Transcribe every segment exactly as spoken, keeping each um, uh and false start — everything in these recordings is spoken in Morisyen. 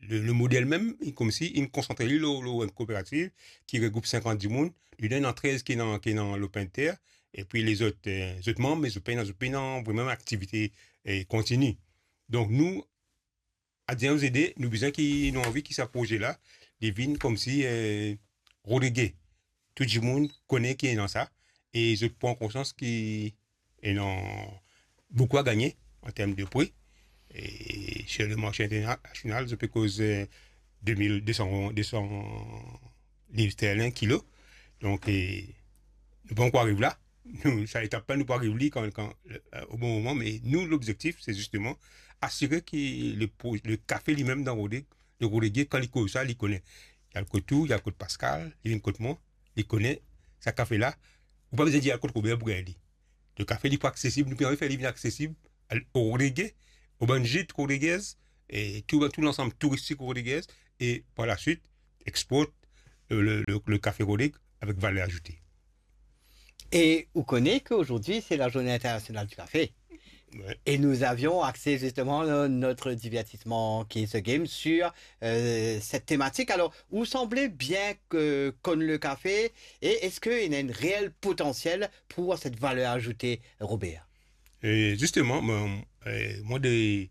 le, le model mem, li koumsi, li konsantre li lor, lor enn kooperativ ki regroup sinkant dimoun, li ena trez ki ena, ki ena lopin ter, epi lezot, eh, zot manm, me zot pena, zot pena vremem aktivite, eh, kontini. Donk nou, Adyen Ozede, nou bizin ki, nou anvi ki sa proze la, li vinn koumsi, eh, Rodrige. Tou dimoun kone ki ena sa, e zot pran konsians ki ena boukou a gagne an term de pri. E sir le marse internasional, zot pe koz, eh, de mil de san, de san liv sterlin kilo. Donk, eh, nou pa ankor ariv la. Nou, sa etap la, nou pou ariv li kan, kan, eh, o bon moman, me nou, lobzektif, se zisteman asire ki le pro-, le kafe limem dan Rodrige, le Rodrige, kan li koz sa, li kone. Li al kot ou, li al kot Pascal, li vinn kot mwa, li kone sa kafe la. Ou pa bizin dir al kot Robert pou gagn li. Le kafe, li pou aksesib, nou pe anvi fer li vinn aksesib al Rodrige, o bann git Rodriguez, e tou, tou lansam touristik Rodriguez, e par laswit, export le, le, le, le kafe Rodrige avek valer azoute. Et vous connaissez qu'aujourd'hui, c'est la journée internationale du café. Ouais. Et nous avions axé justement, euh, notre divertissement qui est ce game sur, euh, cette thématique. Alors, vous semblez bien que connaître le café et est-ce qu'il y a une réelle potentiel pour cette valeur ajoutée, Robert ? E zisteman, mwa, e, mwa de,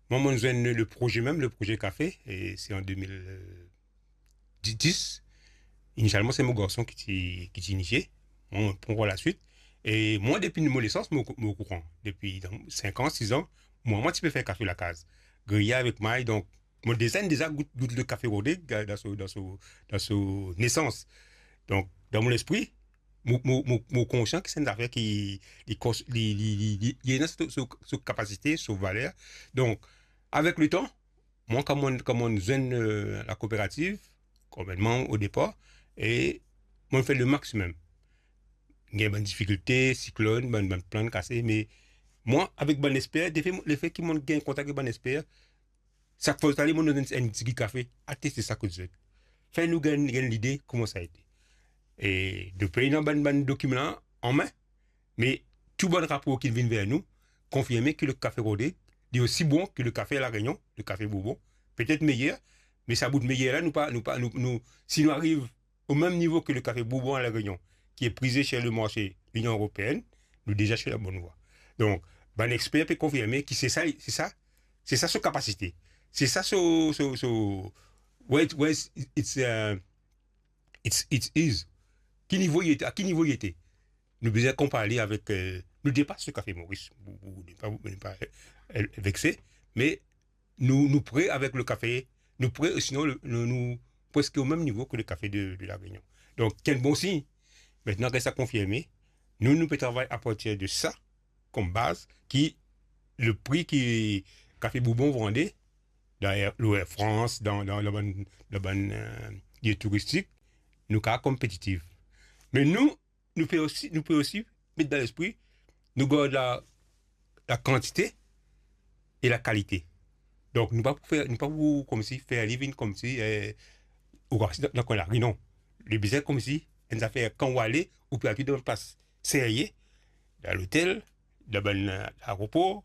mwa, mwa zwenn le proze mem, le proze kafe, e se an de mil dis. Inisialman, se mo garson ki ti, ki ti inisie. Mwa, mo pran laswit. E mwa, depi mo nesans, mo, mo okouran. Depi dan sink an, sis an, mwa, mwa ti pe fer kafe lakaz. Griye avek may, donk, mo deza, deza gout, gout le kafe Rodrige dan, dan so, dan so, dan so nesans. Donk, dan mo lespri, mo, mo, mo, mo konsian ki se enn zafer ki, li kons-, li, li, li, li, li ena so, so, so kapasite, so valer. Donk, avek letan, mwa, kan mo, kan mo zwenn, eh, lakooperativ, kouma manm o depar, e mo fer le maximum. Gagn bann difikilte, siklonn, bann, bann plant kase, me mwa, avek bann exper, defe, lefe ki mo gagn kontak avek bann exper, sak fwa zot ale, mo donn enn, enn tigit kafe, al teste sa kot zot. Fer nou gagn, gagn lide kouma sa ete. E depi ena bann, bann dokiman la an me, me tou bann rapor ki vinn ver nou, konfirme ki le kafe Rodrige, li osi bon ki le kafe La Réunion, le kafe Bourbon, petet meyer, me sa bout meyer la, nou pa, nou pa, nou, nou, si nou ariv o mem nivo ki le kafe Bourbon a La Réunion, ki e prize sir le marse Linion Eropeenn, nou deza sir la bonn vwa. Donk, bann exper pe konfirme ki se sa, se sa, se sa so kapasite. Se sa so, so, so, where it, where it's, it's, uh, it's, it is. Ki nivo li ete, a ki nivo li ete. Nou bizin konpar li avek, eh, nou depas le kafe Moris. Ou, ou, nou pa, nou pa, eh, vekse, me nou, nou pre avek le kafe, nou pre, sinon, le, nou, nou preske o mem nivo ki le kafe de, de La Réunion. Donk, ki enn bon sign. Aster ki sa konfirme, nou, nou pe travay apartir de sa, kom baz, ki le pri ki kafe Bourbon vande, dan Air, lor Air France, dan, dan, dan bann, dan bann, eh, lie touristik, nou kapav konpetitif. Me nou, nou pe osi, nou pe osi met dan lespri, nou gard la, la kantite e la kalite. Donk, nou pa pou fer, nou pa pou koumsi fer li vinn koumsi, eh, ou rase dan, dan kwin lari, non. Li bizin koumsi enn zafer kan ou ale, ou pe al dan enn plas serye, dan lotel, dan bann, eh, aeropor,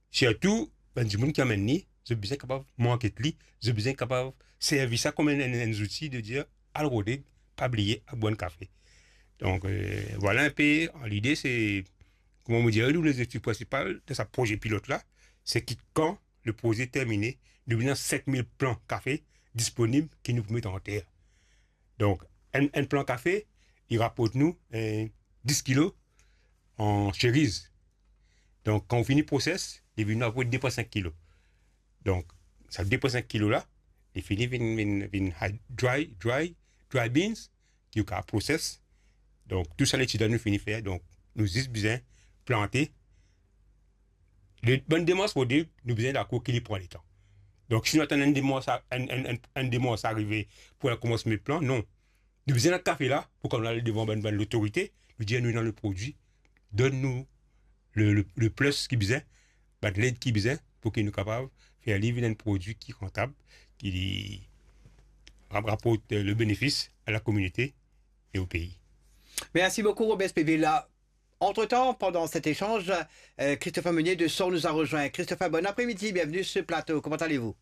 sirtou, bann dimoun ki amenn li, zot bizin kapav market li, zot bizin kapav servi sa kom enn, enn, enn zouti de dir, al Rodrige, pa bliye, al bwar enn kafe. Donk, eh, vwala enpe, an lide, se, kouma mo dir, nou lezefektif prinsipal de sa proze pilot la, se ki kan le proze termine, nou bizin sink mil plan kafe disponib ki nou pou met anter. Donk, enn, enn plan kafe, li raport nou, eh, dis kilo an cheriz. Donk, kan ou fini proses, li vinn apre de pwin sink kilo. Donk, sa de pwin sink kilo la, li fini vinn, vinn, vinn high, dry, dry, dry beans, ki ou kapav proses. Donk, tou sa letid la nou fini fer. Donk, nou zis bizin plante. Le, bann demars pou dir, nou bizin dakor ki li pran letan. Donk, si nou atann enn demars a, enn, enn, enn, enn demars arive pou al koumans met plan, non. Nou bizin enn kafe la, pou kan nou al devan bann, bann lotorite, nou dir nou ena le prodwi, donn nou le, le, le plus ki bizin, bann led ki bizin, pou ki nou kapav fer li vinn enn prodwi ki rantab, ki li rap-, raport, eh, le benefis a la kominote e o pei. Merci beaucoup, Robert Spéville. Entre-temps, pendant cet échange, euh, Christopher Meunier de Sort nous a rejoint. Christopher, bon après-midi, bienvenue sur ce plateau. Comment allez-vous ?